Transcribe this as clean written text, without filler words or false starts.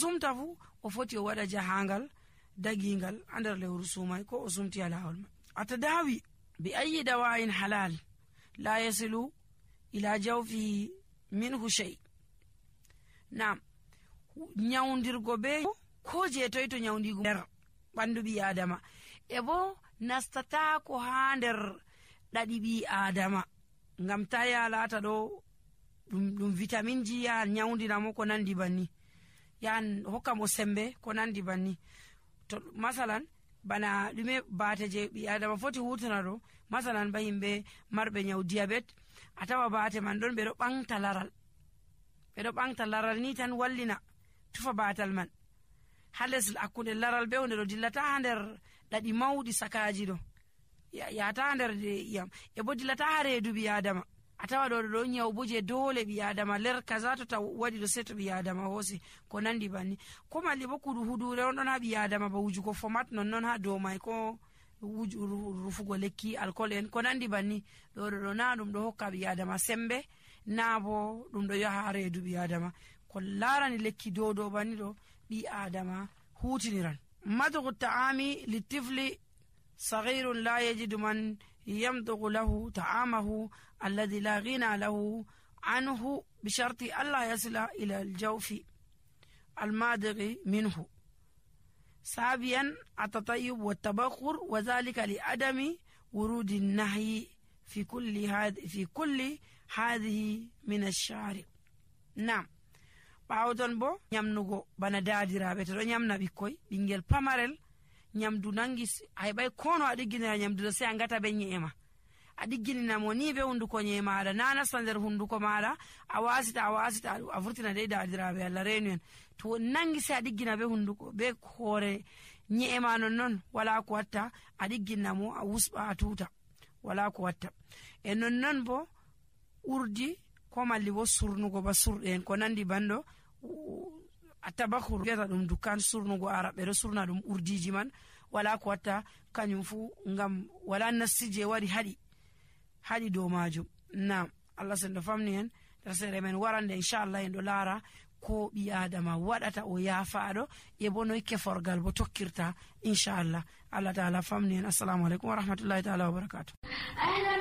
sumta fu o foti o waɗa jahangal dagingal ha nder lewru sumai ko o sumti alawol man. atadawi bi ayyi dawa'in halal la yasilu ila jawfi minhu shay. Naam, nyawdirgo be ko je toy to nyawdigo nder bandu bi adama e bo nastata ko ha nder dadi bi adama ngam ta ya lata do dum vitamin ji ya nyawdina mo ko nandi banni, yan hokka mo sembe ko nandi banni. To masalan bana dume bate je bi adama foti hutana do, masalan ba himbe marbe nyaw diabete atawa bate man don be do bangta laral ni tan wallina tufa batal man hales akkunde laral be wonde do dillata ha nder dadi mawdi sakaji do ya ta nder yam e bo dillata ha reedu bi adama atawa do nyaw buje dole bi adama ler kaza to ta wadi do seto bi adama hosi ko nandi banni, ko malli bo kudu hudure on don ha bi adama ba wujugo format non ha do mai ko rufugo lekki alcool en ko nandi banni do na dum do hokka bi adama sembe na bo dum do yaha reedu bi adama ko larani lekki do banni do bi adama hutiniran. madghu ta'ami litifli saghirun la yajidu man yamdghu lahu ta'amahu alladhi la ghina lahu anhu bi sharti alla yasila ila al-jawfi al-madighi minhu sabiyan at-tatayyub wa at-tabakhur wa dhalika li adami wurudi an-nahyi fi kulli hadhihi min ash-shari'. Naam, bawdon bo nyamnugo bana daadirabe to do nyamna bikkoy bingel pamarel nyamdu nangi ay bay kono adigina nyamdu se angata be nyeema adigina mo ni be hunduko nyeema ada nana sander hunduko mara awasita avurtina de daadirabe alla renuen to nangi se adigina be hunduko be hore nyeema non wala ko watta adigina mo awusba atuta wala ko watta e non bo urdi ko malli bo surnugo ba surden ko nandi bando atabakhur geta dum dukan surnugo arabe do surna dum urdiji man wala ko watta kanyum fu ngam wala nasije wari hadi do majum. Naam, Allah sendo famni en tasere men warande inshallah en do lara ko bi adama wadata o yafaado e bono keforgal bo tokkirta inshallah. Allah taala famni en. Assalamu alaikum wa rahmatullahi taala wa barakatuh.